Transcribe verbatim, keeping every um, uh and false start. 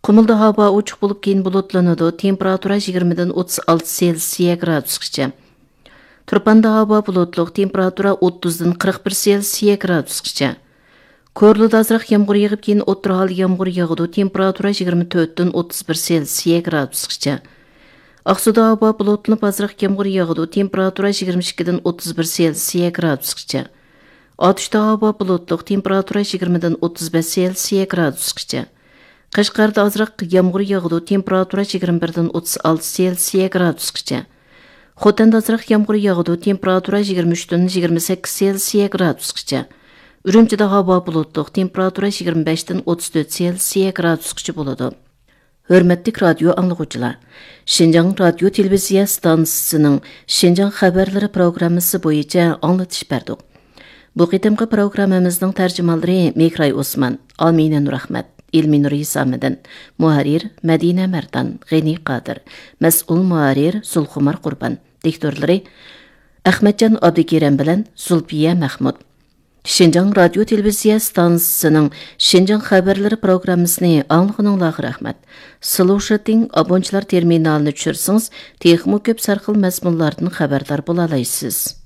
قۇمۇلدا ھاۋا ئوچۇق بولۇپ، كېيىن بۇلۇتلىنىدۇ، تېمپېراتۇرا يىگىرمىدىن ئوتتۇز ئالتە سېلسىيە گرادۇسقىچە. تۇرپاندا ھاۋا بۇلۇتلۇق، تېمپېراتۇرا ئوتتۇزدىن قىرىق بىر سېلسىيە گرادۇسقىچە. كورلىدا ئازراق يامغۇر يېغىپ، كېيىن ئوتتۇرا ھالدا يامغۇر ياغىدۇ، تېمپېراتۇرا يىگىرمە تۆتتىن ئوتتۇز بىر سېلسىيە گرادۇسقىچە. ئاقسۇدا ھاۋا بۇلۇتلىنىپ، ئازراق يامغۇر ياغىدۇ، تېمپېراتۇرا يىگىرمە ئىككىدىن ئوتتۇز بىر سېلسىيە گرادۇسقىچە. ئاتۇشتا ھاۋا بۇلۇتلۇق، تېمپېراتۇرا يىگىرمىدىن ئوتتۇز بەش سېلسىيە گرادۇسقىچە. قەشقەردە ئازراق يامغۇر ياغىدۇ، تېمپېراتۇرا يىگىرمە بىردىن ئوتتۇز ئالتە سېلسىيە گرادۇسقىچە. خوتەندە ئازراق يامغۇر ياغىدۇ، تېمپېراتۇرا يىگىرمە ئۈچتىن يىگىرمە سەككىز سېلسىيە گرادۇسقىچە. ئۈرۈمچىدە ھاۋا بۇلۇتلۇق، تېمپېراتۇرا يىگىرمە بەشتىن ئوتتۇز تۆت سېلسىيە گرادۇسقىچە بولىدۇ. ھۆرمەتلىك رادىيو ئاڭلىغۇچىلار! شىنجاڭ رادىيو تېلېۋىزىيە ئىستانسىسىنىڭ شىنجاڭ خەۋەرلىرى پروگراممىسى بويىچە ئاڭلىتىش بەردۇق. بۇ قېتىمقى پروگراممىمىزنىڭ تەرجىمانلىرى مېھراي ئوسمان، ئامىنە نۇرئەخمەت، ئېلمىنۇر ھېسامىدىن، مۇھەررىر مەدىنە مەردان، غېنى قادىر، مەسئۇل مۇھەررىر زۇلخۇمار قۇربان، دىكتورلىرى ئەخمەتجان ئابدۇكېرىم بىلەن زۇلپىيە مەخمۇت. شىنجاڭ رادىيو تېلېۋىزىيە ئىستانسىسىنىڭ شىنجاڭ خەۋەرلىرى پروگراممىسىنى ئاڭلىغىنىڭلارغا رەھمەت. سلوشىتىڭ ئابونچىلار تېرمىنالىنى چۈشۈرسىڭىز، تېخىمۇ كۆپ سەرخىل مەزمۇنلاردىن خەۋەردار بولالايسىز.